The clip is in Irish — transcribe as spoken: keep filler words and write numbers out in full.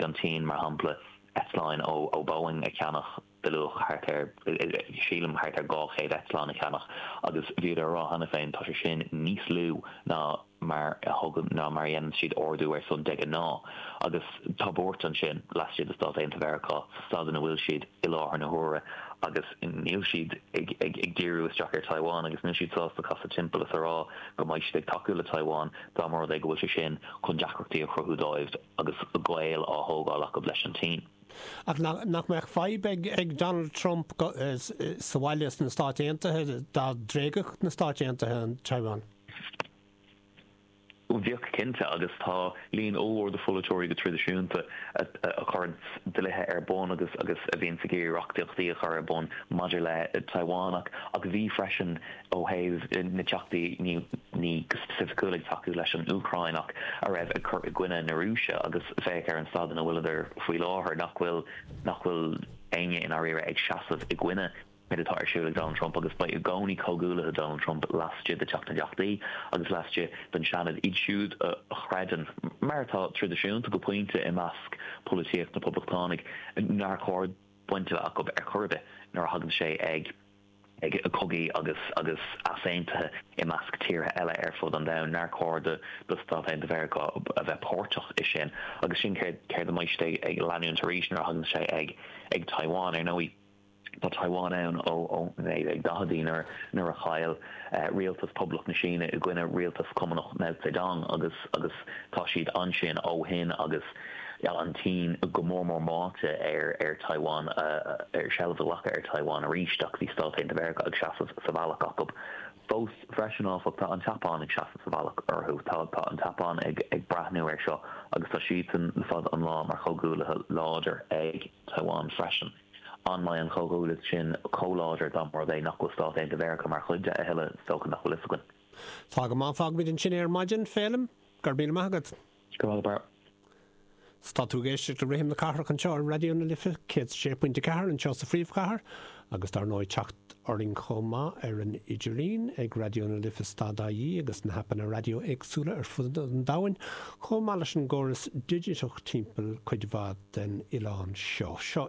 Dhiúltaigh an tSín, mar shampla, eitleáin ó Boeing a cheannach de luach thart ar, sílim, thart ar dhá chéad eitleán a cheannach agus bhíodar a rá cheana féin tá sé sin níos lú ná mar a thugann, ná mar a dhéanann siad ordú ar son de ghnáth. Agus tá buairt ansin laistigh de Stáit Aontaithe Mheiriceá sa staid ina bhfuil siad i láthair na huaire agus níl siad ag ag díriú isteach ar Taiwan agus níl siad sásta casadh timpeall is a rá go mbeidh siad ag tacú le Taiwan dá mba rud é go bhfuil sé sin chun deacrachtaí a chruthú dóibh agus gaol á thógáil acu leis an tSín. Ach nach mbeadh fadhb ag Donald Trump sa bhaile sna Stáit Aontaithe dá dtréigfeadh na Stáit Aontaithe an Taiwan? Bheadh, cinnte, agus tá líon ollmhór de pholaiteoirí go traidisiúnta a chuireann dlíthe ar bun agus agus a bhíonns ag iarraidh reachtaíochtaí a chur ar bun maidir le Taiwan ach ach bhí freisin ó thaobh na teachtaí ní ní go specificiúil ag tacú leis an Úcráin ach a raibh ag cur i gcoinne na Rúise agus féach ar an staid ina bhfuileadar faoi láthair nach bhfuil nach bhfuil éinne i ndáiríre ag seasamh i gcoinne céard atá ar siúl ag Donald Trump agus beidh i gcónaí comhghuaillithe Donald Trump laistigh de Teach na dTeachtaí agus laistigh den Seanad, iad siúd a chreideann, mar atá traidisiúnta go pointe i measc polaitíocht na Poblachtánaigh, nár chóir baint a bheith acu ar chor ar bith nuair a thagann sé ag ag cogaí agus agus easaontuithe i measc tíortha eile ar fud an domhain, nár chóir do do Stáit Aontaithe Mheiriceá a bheith páirteach i sin. Agus sin céard céard a mbeidh siad ag leanúint arís nuair a thagann sé ag ag Taiwan. Ar ndóigh, Tá Taiwan ann ó naoi déag daicheadaí nuair nuair a chaill rialtas Poblacht na Síne i gcoinne rialtas Cumannach Mao Zedong agus agus tá siad ansin ó shin agus an tSín go mór mór meáite ar ar Taiwan ar seilbh a ghlacadh ar Taiwan arís ach bhí Stáit Aontaithe Mheiriceá ag seasamh sa bhealach acu. Fós freisin áfach tá an tSeapáin ag seasamh sa bhealach orthu. Tá tá an tSeapáin ag ag breathnú air seo agus tá siadsan le fada an lá mar chomhghuaillithe láidir ag Taiwan freisin. An mbeidh an chomhghuaillíocht sin chomh láidir dá mba rud é nach bhfuil Stáit Aontaithe Mheiriceá mar chuid de a thuilleadh? Is dócha nach bhfuil fhios againn. Tá go maith, fágfaimid ansin é ar maidin, Féilim. Go raibh míle maith agat. Go raibh maith agat, Barra. Tá tú ag éisteacht le Rithim na Cathrach anseo ar Raidió na Life céad sé pointe ceathair anseo sa phríomhchathair agus dar ndóigh teacht orainn chomh maith ar an idirlíon ag Raidió na Life stad ie agus na haipeanna raidió éagsúla ar fud an domhain chomh maith leis an gcóras digiteach timpeall cuid mhaith den oileán seo. Seo